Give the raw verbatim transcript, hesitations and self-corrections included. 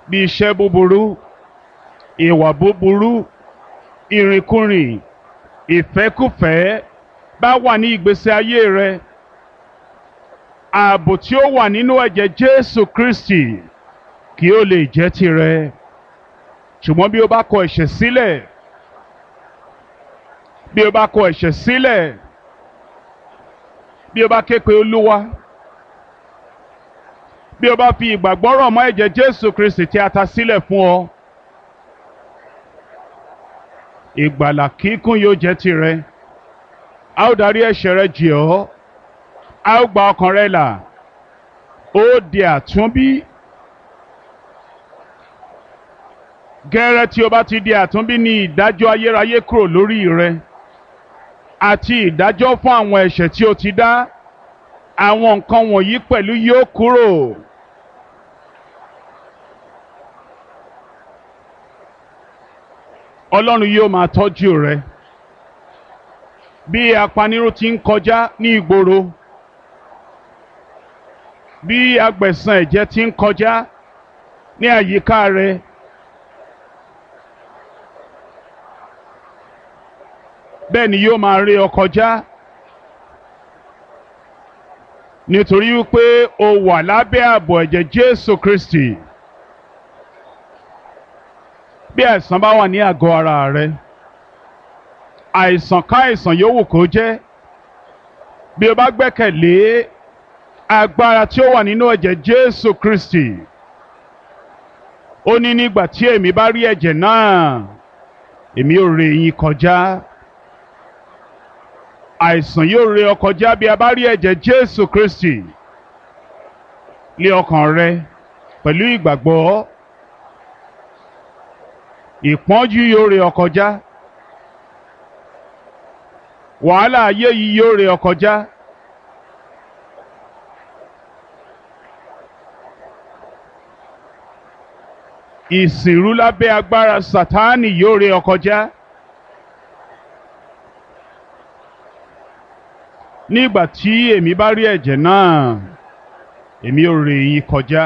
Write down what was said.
Bí iṣẹ́ búburú, ìwà búburú, ìrìnkúrìn, ìfẹ́kúfẹ̀ẹ́ bá wà ní ìgbésí ayé rẹ, ààbò tí ó wà nínú ẹ̀jẹ̀ Jésù Kristi kí ó lè jẹ́ tirẹ̀. Ṣùgbọ́n bí o bá kọ ẹ̀ṣẹ̀ sílẹ̀, bí o bá kọ ẹ̀ṣẹ̀ sílẹ̀, bí o bá ké pe Olúwa, bí o bá fi ìgbàgbọ́ rọ̀ mọ́ ẹ̀jẹ̀ Jésù Kristi tí a ta sílẹ̀ fún ọ, ìgbàlà kíkún yóò jẹ́ tirẹ̀. A ó darí ẹ̀ṣẹ̀ rẹ jì ọ́, a ó gba ọkàn rẹ là, ó di àtúnbí. Gẹ́rẹ́ tí o bá ti di àtúnbí ní ìdájọ́ ayérayé kúrò lórí rẹ àti ìdájọ́ fún àwọn ẹ̀ṣẹ̀ tí o ti dá. Àwọn nǹkan wọ̀nyí pẹ̀lú yóò kúrò. Ọlọ́run yóò máa tọ́jú rẹ. Bí apanirun ti ń kọjá ní ìgboro, bí agbẹ̀san ẹ̀jẹ̀ ti ń kọjá ní àyíká rẹ, bẹ́ẹ̀ ni yóò máa ré ọ kọjá, nítorí wípé o wà lábẹ́ ààbò ẹ̀jẹ̀ Jésù Kristi. Bí àìsàn bá wà ní àgọ́ ara rẹ, àìsàn káìsàn yòówù kó jẹ́, bí o bá gbẹ́kẹ̀lé agbára tí ó wà nínú ẹ̀jẹ̀ Jésù Kristi, ó ní nígbà tí èmi bá rí ẹ̀jẹ̀ náà, èmi ó ré yín kọjá. Àìsàn yóò ré ọ kọjá bí a bá rí ẹ̀jẹ̀ Jésù Kristi lé ọkàn rẹ pẹ̀lú ìgbàgbọ́. Ìpọ́njú yóò ré ọ kọjá. Wàhálà ayé yìí yóò ré ọ kọjá. Ìsìnrú lábẹ́ agbára Sátánì yóò ré ọ kọjá. Nígbà tí èmi bá rí ẹ̀jẹ̀ náà, èmi ó ré yín kọjá.